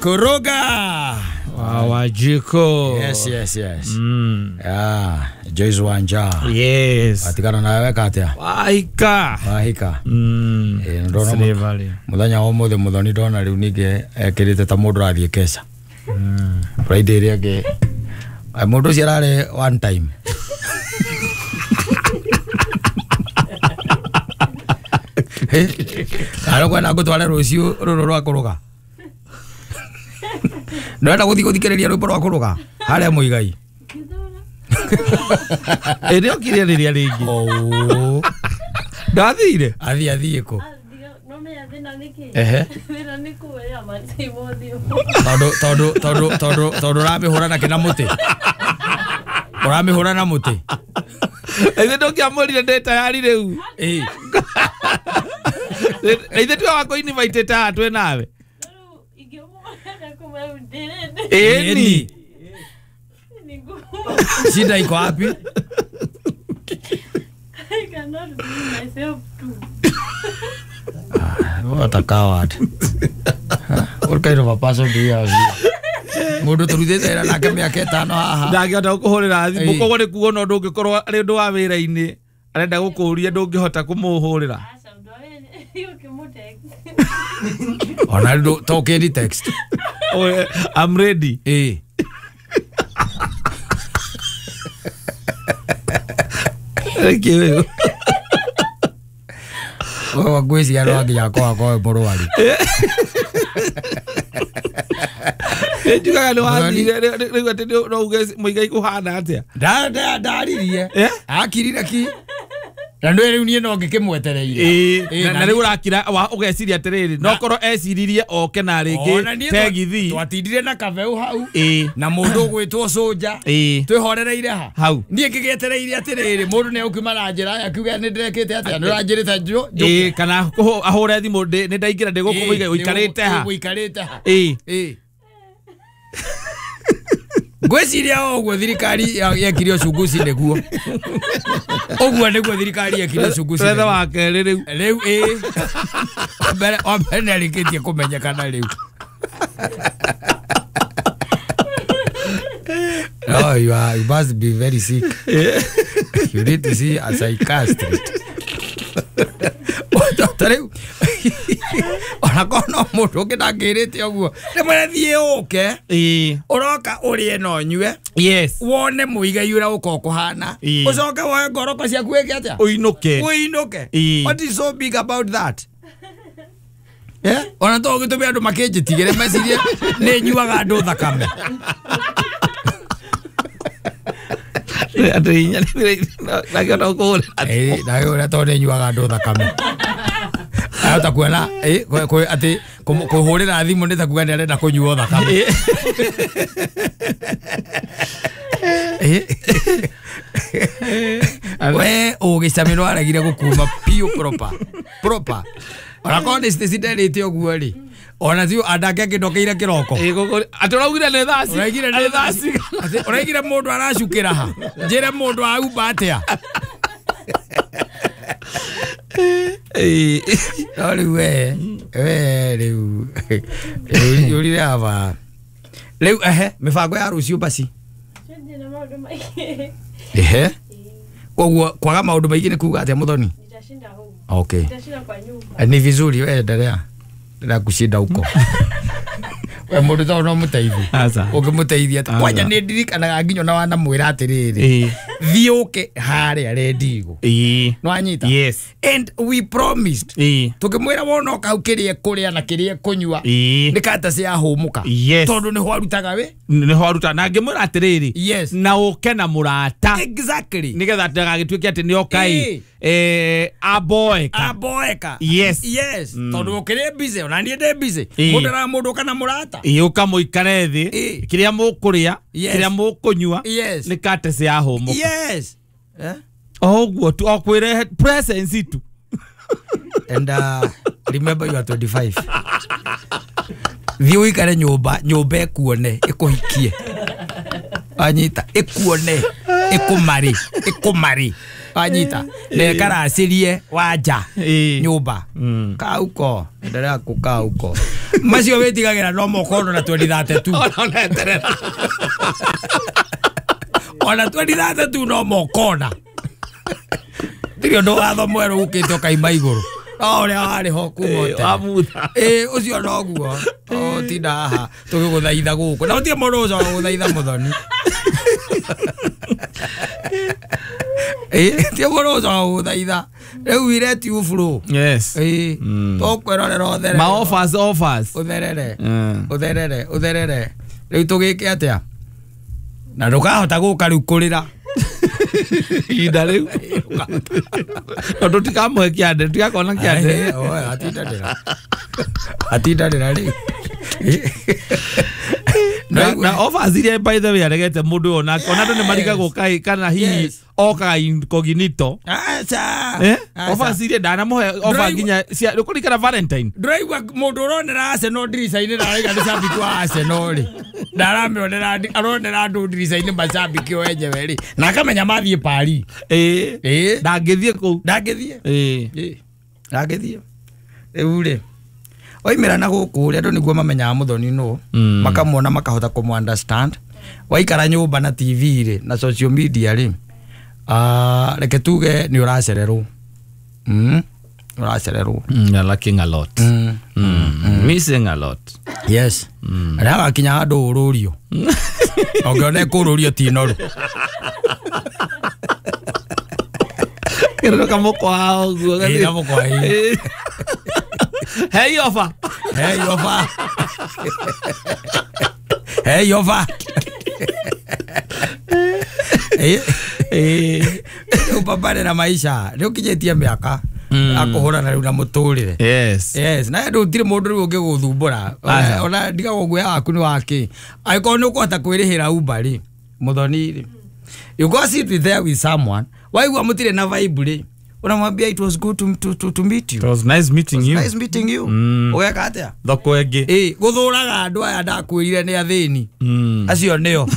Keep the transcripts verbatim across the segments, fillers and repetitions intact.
Kuruga. Wajiko. Yes, yes, yes. Mm. Yeah, Joyce Wanja. Yes. Atikana nawe katia. Wahika. Wahika. Mm. Eh, ndona muthenya wa muthe muthoni ndona riu ninge ekirite ta mundu athie keca. Mm. Friday ria ngi mundu ucio arari one time. Aro kwenda ngutware ruciu ruru rwa kuruga. Ndĩrenda gũthiĩ gũthikĩrĩria rwĩmbo rwa kũruga harĩa Muigai. Ĩ nĩokire rĩrĩa rĩngĩ. Oh. Ndathire. Athiĩ athiĩ kũ? Ehe. Tondũ tondũ tondũ tondũ tondũ ũramĩhũra na kĩna mũtĩ. Ũramĩhũra na mũtĩ. Ithe ndũngĩamũrire ndĩ tayari rĩu. Ĩ. Ithe twe wako invite ta twĩ nawe. Eni. Shida iko wapi? I cannot bring myself to. Ah, what a coward. What kind of a person do you have? Mundu turutite wĩra nake mĩaka ĩtano haha. Ndangĩhota gũkũhũrĩra thimũ koguo nĩ kuona ũndũ ũngĩkorwo arĩ ũndũ wa wĩra-inĩ arenda gũkũũria ndũngĩhota kũmũhũrĩra. Ona to kĩri text. Oh, I'm ready. Eh. Thank you. Wewe ngwĩciria no nginya akorwo akorwo mũrwaru. Njugaga nĩ wathire rĩu atĩ no uge Muigai kũhana atĩa? Nda ndaririe. Akirire ki. Na nĩ rĩu niĩ no ngĩkĩmwetereire. Na rĩu ũrakira ũgeciria atĩrĩrĩ no korwo eciririe oke na rĩngĩ tegithi. Twatindire na kabeu hau na mũndũ ũgwĩtwo Cũnja twĩhorereire ha hau. Niĩ ngĩgĩetereire atĩrĩrĩ mũndũ nĩ egũkiuma na njĩra akiuga nĩ ndĩrekĩte atĩa nĩ ũranjĩrĩte njũke. Kana ahũre thimũ nĩ ndaingĩra ndĩ gũkũ Muigai ũikarĩte ha. Ũikarĩte ha. Ĩĩ. Ngwĩciria ũguo thirikari yekire uchunguzi nĩguo. Ũguo nĩguo thirikari yekire uchunguzi. Wetha wa kerĩ rĩu. Rĩu ĩĩ. Mbere wa mbere nĩarĩkĩtie kũmenyekana rĩu. No, you are, you must be very sick. You need to see a psychiatrist. Ta rĩu ona korwo no mũndũ ũngĩ ndangĩrĩte ũguo rĩmwe thiĩ ũke ũroka ũrĩe na ũnyue yes wone Muigai ũrĩa ũkoragwo kũhana ũcoke woe ngoroko ciaku wĩke atĩa ũinũke ũinũke. What is so big about that? Eh, ona to ũgĩtũme andũ makĩnjĩtigĩre mecirie nĩ nyuaga andũ thakame. Andũ inya ndangĩhota gũkũhũrĩra. Ĩĩ ndangĩhũrĩra tondũ nĩ nyuaga andũ thakame. Ahota kuona eh atĩ kũhũrĩra thimũ nĩ ta kuga nĩ arenda kũnyuo thakame. We ũgĩcamĩrwo aregire gũkuma piũ proper proper. Ona korwo nĩ citinderĩte ũguo rĩ ona ti andake angĩndokeire kĩroko. Atĩ ũraugire nĩ thaa ũraigire nĩ thaa cigana ũraigire mũndũ aracukĩra ha njĩre mũndũ aumba atĩa. No rĩu we we rĩu rĩu ũrire aba rĩu ehe mĩbango ya rũciũ basi. Ehe koguo kwaga maũndũ maingĩ nĩ kuga atĩa Muthoni? Okay. Ni vizuri wewe endelea. Endelea kushinda huko. We mũndũ to no mũteithie. Ũngĩmũteithia atĩa? Kwanja nĩ ndirikanaga nginya ona wanamwĩra atĩrĩrĩ thiĩ ũke harĩa rendigo. Ĩĩ. Nĩwanyita? Yes. And we promised. Ĩĩ. Tũkĩmwĩra wona oka hau kĩrĩa kũrĩa na kĩrĩa kũnyua Ĩĩ. nĩ kata ciahũmũka. Yes. Tondũ nĩho arutaga wĩ? Nĩho aruta na ngĩmwĩra atĩrĩrĩ Yes. na ũke na mũrata. Exactly. Nĩgetha ndagagĩtuĩke atĩ nĩoka ĩ eh aboeka. Aboeka. Yes. Yes. Tondũ ũkĩrĩ busy ona niĩ ndĩ busy. Mũndũ ara mũndũ kana mũrata. Ĩĩ ũka mũikare thĩ kĩrĩa mũkũrĩa kĩrĩa mũkũnyua nĩ kate ciahũmũka. Yes. Eh? O ũguo tu o kwĩrehe presence tu. And uh, remember you are twenty-five. Thiĩ ũikare nyũmba nyũmba ĩkuone ĩkũhikie. Anyita ĩkuone ĩkũmarĩ ĩkũmarĩ. Anyita na ĩkaracirie wanja nyũmba. Kaa huko endelea kukaa huko. Macio wĩtigagĩra no mokono na twenty thirty-two. Ona eterera. Ona twenty thirty-two no mokona. Tirio ndo watho mwerũ ũkĩte ũkaima igũrũ. No ũrĩa warĩ ho kuma o tene. Wamutha. Ĩĩ ũcio noguo. O tinda haha tũgĩgũthaitha gũkũ. Na gũtirĩ mũndũ ũcoka gũthaitha mũthoni. Ĩĩ ti mũndũ ũcoka gũthaitha. Rĩu we let you flow. Yes. Ĩĩ tũkwĩrorera ũtherere. Ma offers offers. Ũtherere. Ũtherere ũtherere. Rĩu tũgĩke atĩa? Na ndũkahota gũka rĩu kũrĩra. Ihinda rĩu. Tondũ tũtikamũhe kĩande, tũtigakona kĩande. Atindanĩra. Atindanĩra rĩu. Na na offers iria by the way aregete mũndũ ona ona andũ nĩ marigagwo kaĩ kana hihi okaga incognito. Aca. Eh? Offers iria ndanamũhe offer nginya cia kũrikana Valentine. Ndũraigua mũndũ ũronera Arsenal ndirica-inĩ na arauga nĩ cambiki wa Arsenal rĩ. Ndaramĩonera aronera andũ ndirica-inĩ macambiki o enyewe rĩ. Na akamenya mathiĩ Paris. Ĩĩ. Ĩĩ. Ndangĩthiĩ kũu. Ndangĩthiĩ. Ĩĩ. Ĩĩ. Ndangĩthiĩ. Rĩu rĩ. Oimĩra na gũkũ rĩ andũ nĩguo mamenyaga mũthoni nũ. Makamwona makahota kũmũ understand. Waikara nyũmba na T V rĩ na social media rĩ. Ah, reke tuge nĩ ũracererwo. Mm. Ũracererwo. Mm, you're lacking a lot. Mm. Mm. Missing a lot. Yes. Mm. Na gakinya handũ ũrũrio. Ũngĩona kũrũrio ti noru. Kĩrĩro kamũkwa ũguo. Ĩĩ kamũkwa ĩĩ. Hey offer. Hey offer. Hey offer. Eh eh upambane na maisha. Rĩu kinyĩtie mĩaka akũhũrana rĩu na mũtũrĩre. Yes. Yes, na andũ gũtirĩ mũndũ rĩu ũngĩgũthumbũra. Ona ndigagwo guoya waku nĩ wakĩ. Angĩkorwo nĩ ũkũhota kwĩrĩhĩra Uber rĩ, mũthoni rĩ. You go sit with there with someone. Waigua mũtirĩ na vibe rĩ. Unamwambia it was good to, to, to, to meet you. It was nice meeting it was you. Nice meeting you. Ũgeka atĩa? Thoko ĩngĩ. Ĩĩ, gũthũraga andũ aya ndakwĩrire nĩ athĩni. Acio nĩo.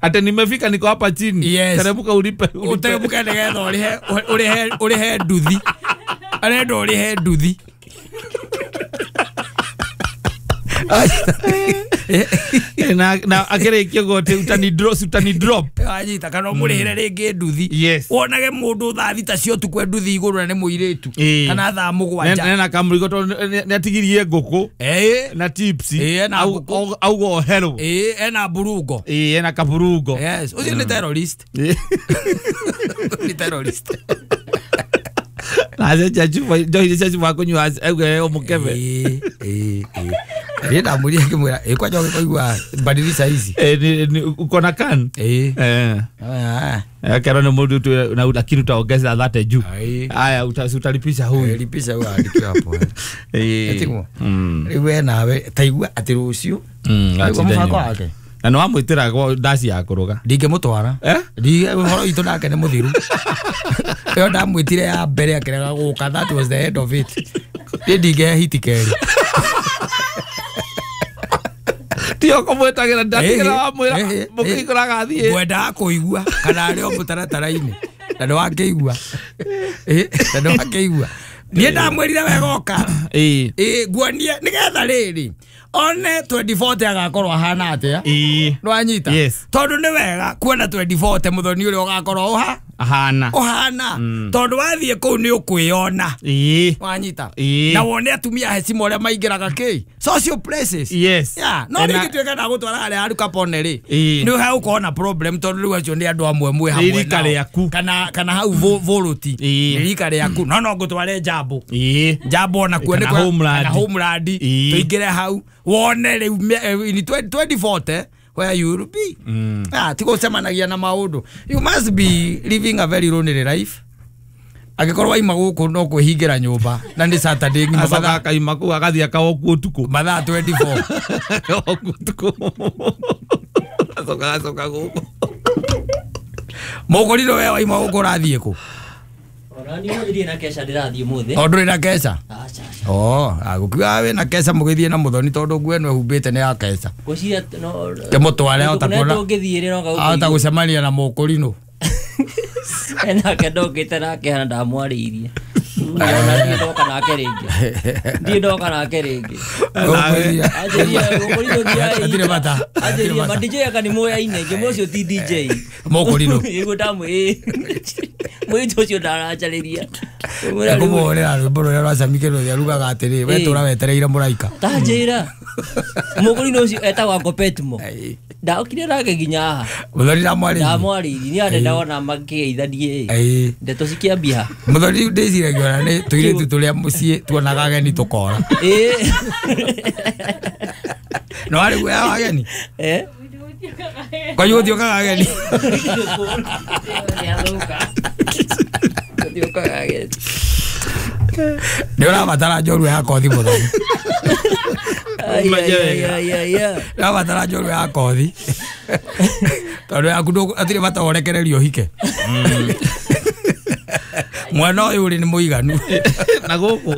Ate nimefika niko hapa chini. Yes. Teremuka ulipe. Uteremuke nĩgetha ũrĩhe ũrĩhe ũrĩhe nduthi. Arenda ũrĩhe nduthi. Na na akĩrĩkia gote utani drop utani drop. Anyita kana ũmũrĩhĩre rĩngĩ nduthi. Yes. Wonage mũndũ thaa thita cia ũtukũ nduthi igũrũ na nĩ mũirĩtu. Kana thaa mũgwanja. Nena kamũrigo tondũ nĩ atigirie ngũkũ. Ĩĩ. Na chips. Ĩĩ na ngũkũ. Auga oherwo. Ĩĩ ena burungo. Ĩĩ ena kaburungo. Yes. Ũcio nĩ terrorist. Nĩ terrorist. Na acenjia chupa njohi cia chupa kũnyua auge ũmũkebe. Ĩĩ ĩĩ ĩĩ. Niĩ ndamũria ngĩmwĩra ĩ kwanja ũgĩkũigua badilisha hizi. Eh ni uko na kan? Ĩĩ. Eh. Akero nĩ mũndũ tu na lakini utaongeza thate juu. Haya utalipisha huyu. Lipisha huyu andike hapo. Ĩĩ. Etiguo. Rĩu we nawe taigua atĩ rũciũ. Mm. Mũbango wake. Na nĩ wamwĩtĩra gwa ndaci ya kũruga. Ndingĩmũtwara. Eh? Ndi ũhoro witũ nake nĩ mũthiru. Ĩyo ndamwĩtire ya mbere akĩrega gũka, that was the end of it. Niĩ ndingĩhe hiti kerĩ. Tio kũmwĩtagĩra ndatigĩra wamwĩra mũkĩikũraga athiĩ. Ngwendaga kũigua kana arĩ o mũtaratara-inĩ. Na nĩ wakĩigua. Na nĩ wakĩigua. Niĩ ndamwĩrire wega oka. Ĩĩ. Ĩĩ nguonie nĩgetha rĩrĩ. One twenty forty agakorwo ahana atĩa. Ĩĩ. Nĩwanyita? Yes. Tondũ nĩ wega kuona twenty forty mũthoni ũrĩa ũgakorwo ũha ahana. Ũhana. Tondũ wathiĩ kũu nĩ ũkwĩona. Ĩĩ. Wanyita? Ĩĩ. Na wone atumia hecima ũrĩa maingĩraga kĩ? Social places. Yes. Yeah. No rĩngĩ ndagũtwara harĩa Aru Capone rĩ. Ĩĩ. Nĩ ũgũkorwo na problem tondũ rĩu acio nĩ andũ amwe mwĩ hamwe Nĩ rika rĩaku. Kana kana hau Voloti. Ĩĩ. Nĩ rika rĩaku. No no ngũtware Njambo. Ĩĩ. Njambo ona kuo nĩ Kana Homeland. Kana Homeland. Ĩĩ. Tũingĩre hau wone rĩu in twenty forty where you will be. Mm. Ah, tigo cemanagia na maundu. You must be living a very lonely life. Angĩkorwo waima gũkũ no kwĩhingĩra nyũmba na nĩ Saturday ng'ima Acoka mathaa akaima kũu agathiĩ akaoku ũtukũ. mathaa twenty four. Akaoku ũtukũ. Acoka acoka gũkũ. Mũgũriro we waima gũkũ ũrathiĩ kũ? Ona niĩ ndirĩ na keca ndĩrathiĩ ũmũthĩ. O ndũrĩ na keca? Aca, aca. Oh, agũkiuga wĩna keca mũgĩthiĩ na mũthoni tondũ nguo ĩno ĩhumbĩte nĩ ya keca. Ngwĩciria no Kĩmũtware ahota kuona. Tũngĩthiĩ rĩ no Ahota gũcemania na mũkũrinũ. Enake ndokĩte nake hana ndamwarĩirie. Ona ndiĩ ndoka nake rĩngĩ. Ndiĩ ndoka nake rĩngĩ. Anjĩria mũkũrinũ thiai. Hatirĩ bata. Anjĩria ma D J aka nĩ moyaine ngĩmwe ũcio ti D J. Mũkũrinũ. Ĩguo ndamwĩ. Mũirĩtu ũcio ndaranjarĩria. Kũmũhũrĩra rwĩmbo rũrĩa rwa Sammy Kĩrũthia rugaga atĩrĩ we tũra wetereire mũraika. Ta njĩra. Mũkũrinũ ũcio etagwo Uncle Petmo. Ndaokire nake nginya haha. Mũthoni ndamwarĩirie. Ndamwarĩirie niĩ ande ndona makĩgeithanie. Ĩĩ. Ndeto cikĩambia. Mũthoni ndĩciragia ona nĩ tũirĩtu tũrĩa mũciĩ tuonaga ageni tũkora. Ĩĩ. No arĩ guoya wa ageni? Eh? Kwanyu gũtiũkaga ageni? Gũtiũkaga ageni. Nĩ ũrabatara njorua ya kothi mũthoni. Ai, ai, ai, ai, ai. Ũrabatara njorua ya kothi. Tondũ yaku ndũ- hatirĩ bata ũrekererio ũhike. Mwana ũyũ ũrĩ nĩ mũiganu. Na gũkũ.